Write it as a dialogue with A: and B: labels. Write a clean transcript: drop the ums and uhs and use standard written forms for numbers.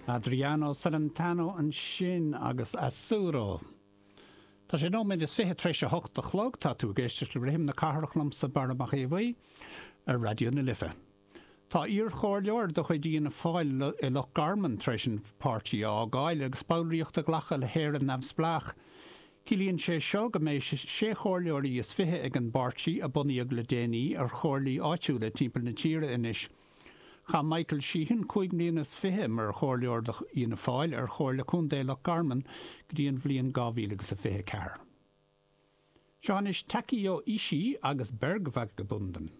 A: Adriano Celentano ansin agus Azzurro. Tá sé nóiméad is 20 tar éis a hocht a chlog, tá tú ag éisteacht le Rithim na Cathrach liomsa, Barra Mac Aodha Bhuí, ar Raidió na Life. Tá iarchomhairleoir de chuid Fhianna Fáil i Loch Garman tar éis an páirtí a fhágáil agus ballraíocht a ghlacadh le hÉire Neamhspleách. Ciallaíonn sé seo go mbeidh sé chomhairleoirí is 20 ag an bpáirtí, a bunaíodh le déanaí, ar chomhairlí áitiúla timpeall na tíre anois. Chaith Michael Sheehan 25 mbliana mar chomhairleoir do Fhianna Fáil ar Chomhairle Contae Loch Garman go dtí an bhliain 2024. Seo anois Takeo Ishii agus Bergvagabunden.